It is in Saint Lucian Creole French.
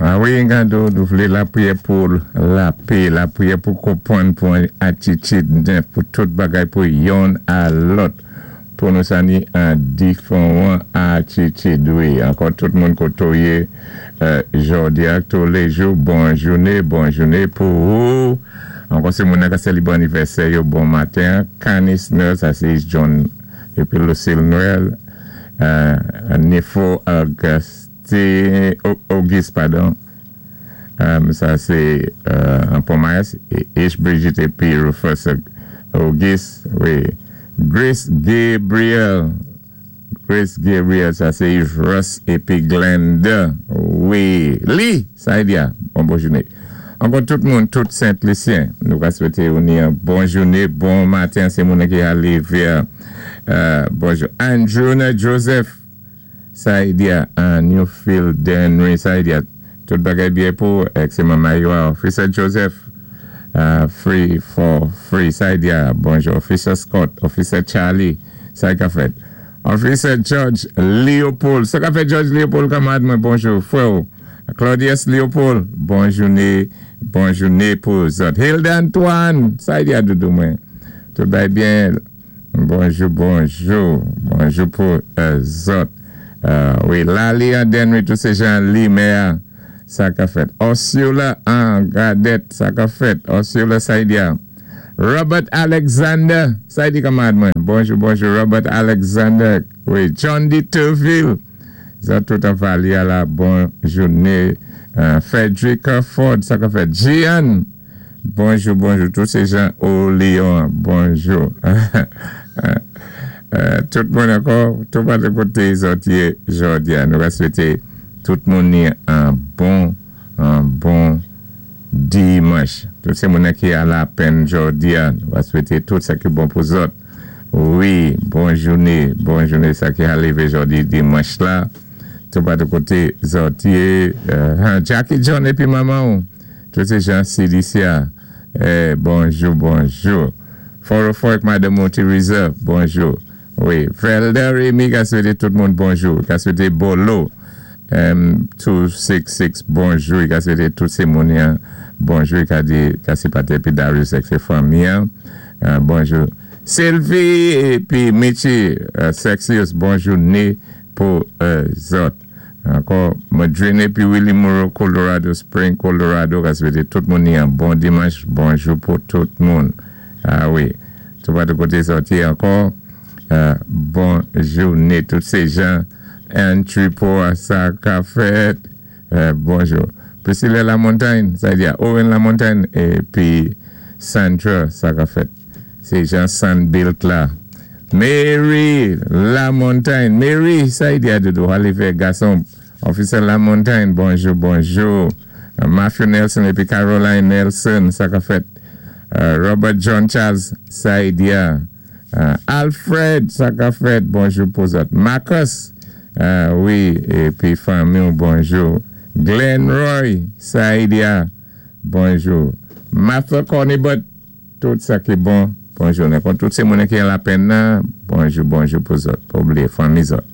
A wi, gado, nou vlé lapriyè pou lapé, lapriyè pou konpwann, pou atitid nèf, pou tout bagay pou yonn a lòt, pou nou sa ni an difèwan atitid, wi. Ankò tout moun koté ou yé jòdi ak toulèjou, bon jouné, bon jouné pou ou. Ankò sé moun ka sélébwé anivèsè yo, bon maten. Canis Noël, sa sé John épi Lucille Noël, Nifo Auguste, Auguste, padon. Sa sé Pont-Mayes, H. Brigitte épi Rufus Auguste, wi. Grace Gabriel, Grace Gabriel, sa sé Yves Ross épi Glenda, wi. Lee, sa y di a, bon bon jouné. Ankò tout moun, tout Sent-Lisyen, nou ka swété ou ni yon bon jouné, bon maten, sé moun ki alé vè, bonjou. Andrew Joseph, sa y di a, Newfield Denry, sa y di a, tout bagay byen pou, ek sé Maman Officer Joseph, free for free, sa y di a, bonjou. Officer Scott, Officer Charlie, sa ka fèt. Officer George Leopold, sa ka fèt George Leopold, kanmarad mwen, bonjou, frè. Claudius Leopold, bon jouné, bon jouné pou zòt. Hilda Antoine, sa y di a doudou mwen. Tout bagay byen, bonjou, bonjou, bonjou pou zòt. Wi, Lali an Denry, tout sé jan Limè, sa ka fèt. Ursula an Gadet, sa ka fèt. Ursula Saidia. Robert Alexander, sa y di kanmarad mwen. Bonjou, bonjou, Robert Alexander. Wi, John D. Turville. Zòt tout an Valia la, bon jouné. Frederick Ford, sa ka fèt. Gian, bonjou, bonjou. Tout sé jan au Léon, bonjou. Tout moun ankò, tout pa de koté zòt yé jòdi a. Nou va swété tout moun ni an bon dimanch. Tout sé moun ki a lapenn jòdi a, nou va swété tout sa ki bon pou zòt. Wi, bon jouné, bon jouné sa ki arivé jòdi dimanch la. Tout pa de koté zòt yé. Jackie John épi manman, tout sé jan CDC. Eh, bonjou, bonjou. Foro Fork, Madame Teresa, bonjou. Wi, Felder Remy ka swété tout moun bonjou. Ka swété Bolo, M266, bonjou. I ka swété tout sé moun bonjou. I ka di, ka sé Pate épi Darius ak sé fanmi. Bonjou. Sylvie épi Michi Sexius, bonjou né pou zòt. Ankò, Madrine épi Willie Moreau, Colorado Spring, Colorado, ka swété tout moun ni an bon dimanch, bonjou pou tout moun. A wi, tout pa de koté sòti ankò, bon jouné tout sé jan entry pou sa ka fèt, bonjou. Priscilla Lamontagne, sa di a Owen Lamontagne, épi Sandra, sa ka fèt. Sé Jean Sandbilt la. Mary Lamontagne, Mary, sa y di a doudou, alé gason, Officer Lamontagne, bonjou, bonjou. Matthew Nelson épi Caroline Nelson, sa ka fèt. Robert John Charles, sa y di a. Alfred, sa ka fèt, bonjou pou zòt. Marcus, wi, épi fanmi, bonjou. Glenn Roy, sa y di a, bonjou. Martha Cornibut, tout sa ki bon, bonjou. Kon tout sé moun ki an lapenn, bonjou, bonjou pou zòt. Pa oubliyé fanmi zòt.